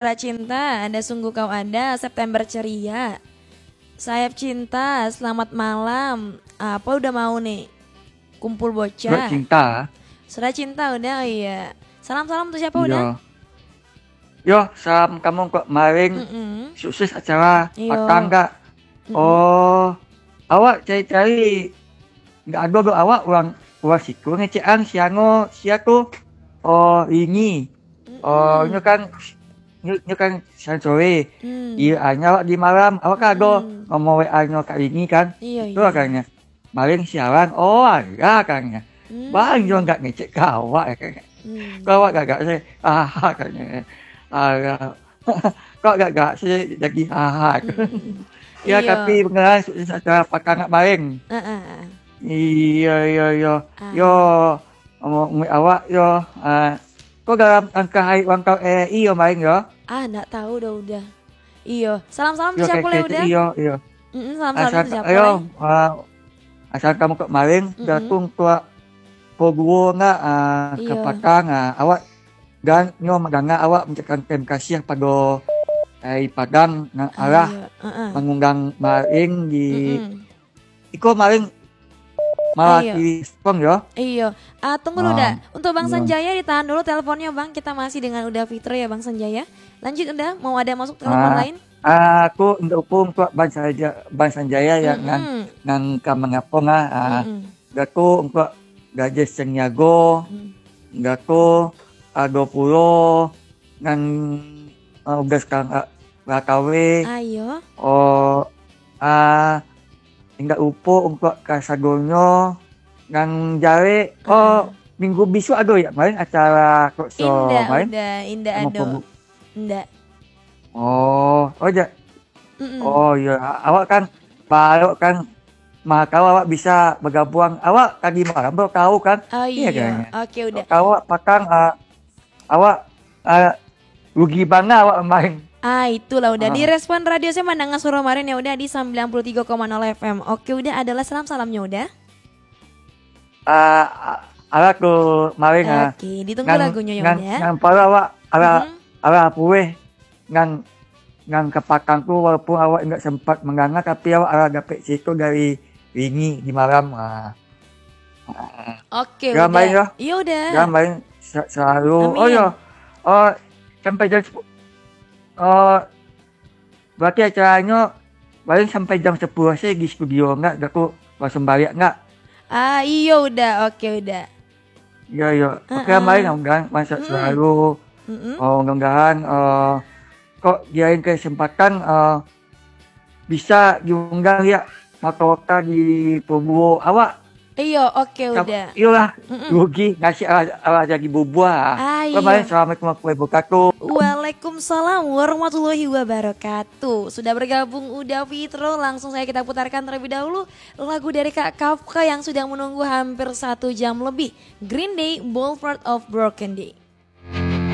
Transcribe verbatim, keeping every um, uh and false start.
Surat cinta, ada sungguh kau ada, September ceria. Sayap cinta, selamat malam. Apa udah mau nih? Kumpul bocah. Surat cinta. Surat cinta udah, oh iya. Salam-salam untuk siapa udah? Iya. Yo, salam kamu kok maring. Mm-mm. Sukses acara. Iyo. Patang gak? Mm-mm. Oh, awak cari-cari. Nggak ada doh awak urang, urang siku ngecek ang siango siaku. Oh, ini. Oh, Mm-mm. Nyo kan, nyo, nyo kan siang sore. Hmm. Di, ah, nyo awak di malam, awak kan ado Mm-mm. nomor W A nyo Kak Rini kan. Iyo, Itu iyo. Agaknyo. Maling siaran, oh, alah, kan nyo. Hmm. Bang, nyo nggak ngecek ka awak, kan nyo. Hmm. Kok awak gagak sih? Ah, kan nyo. Alah. Kok gagak sih jadi, ah, kan. Hmm. Ya, Iyo. Tapi beneran sukses acara Patang Gak Maling. Ah, ah, ah. Iyo, iyo, iyo. Ah. Yo, Ngomong awak yo, ah, ko dalam langkah hari ulang tahun R R I yo, main yo? Ah, ndak tahu dah udah. Iyo, salam-salam Yo, siapa le udah? Iyo, iyo. Mm-mm, salam-salam Asal, siapa yo, le? Ah, asal kamu kok main, Mm-mm. Datung tuak Poguo ndak, ah, Iyo. Kapatang, ah, awak dan nyo mandanga awak mengucapkan terima kasih pado, eh, Padang nan Ah, alah iyo. Heeh. Mangundang main di Mm-mm. Iko maling malah Iyo. Di respon yo. Iyo. Ah, tunggu dulu, Ah, Dak. Untuk Bang iyo. Sanjaya ditahan dulu teleponnya, Bang. Kita masih dengan Uda Fitro ya, Bang Sanjaya. Lanjut, Uda. Mau ada masuk telepon Ah, lain? Ah, aku untuk pun untuk Bang Sanjaya, Bang Sanjaya ya, Mm-mm. nan, nan ka mangapung ah. Ah, Mm-mm. Datuk untuk Gadis Sanyago, Mm. Datuk, ah, dua puluh, nan, ah, udah sekarang, ah, lah kawin. Ayo. Oh, ah, Indak lupo untuak kasadonyo nan jarek. Oh, Ah. Minggu bisuak ado ya, main acara talk show, Indak, main? Uda, indak Sama ado. Pogu. Indak. Oh, oh, ja-, Mm-mm. Oh, iya. A-, awak kan, baru kan, mah tahu awak bisa bergabung. Awak tadi malam baru tahu kan? Oh, Iya, iya. Kayaknya. Oke, Uda. Tahu awak patang, ah, Awak, ah, rugi bana awak main. Ah, itulah Uda. Ah. Di Respon Radio saya mandanga suara marin ya Uda di sembilan puluh tiga koma nol F M. Oke, Uda, adalah salam-salamnya Uda. Ah, ah, alah tu marin, ah. Oke, ditunggu Ngan, lagunya ya ngan, Uda. Ngan pala awak, alah, Mhm. alah pueh. Ngan, ngan kapatang tu walaupun awak indak sempat mandanga, tapi awak alah dapek cerita dari Rini di malam. Ah. Oke, Uda. Yo, Uda. Sa-, selalu. Amin. Oh, yo. Oh, sampai jam sepuluh. Oh, berarti acaranyo paling sampai jam sepuluh saja di studio, enggak? Dah tu langsung balik, enggak? Ah, iyo, Uda. Oke, Uda. Yo, yo. Oke, Heeh. Main, mudah-mudahan Mm-mm. selalu. Mm-mm. Oh, mudah-mudahan, eh, kok diain kesempatan, eh, bisa diundang ya, Makota di Poguo awak. Iyo, oke, Uda. Iyolah, Mm-mm. Rugi, nasi alah, alah jadi bubuah. Ah, Bye-bye. Iyo. Assalamualaikum warahmatullahi wabarakatuh. Waalaikumsalam warahmatullahi wabarakatuh. Sudah bergabung Uda Fitro, langsung saja kita putarkan terlebih dahulu lagu dari Kak Kafka yang sudah menunggu hampir satu jam lebih. Green Day, Boulevard of Broken Day.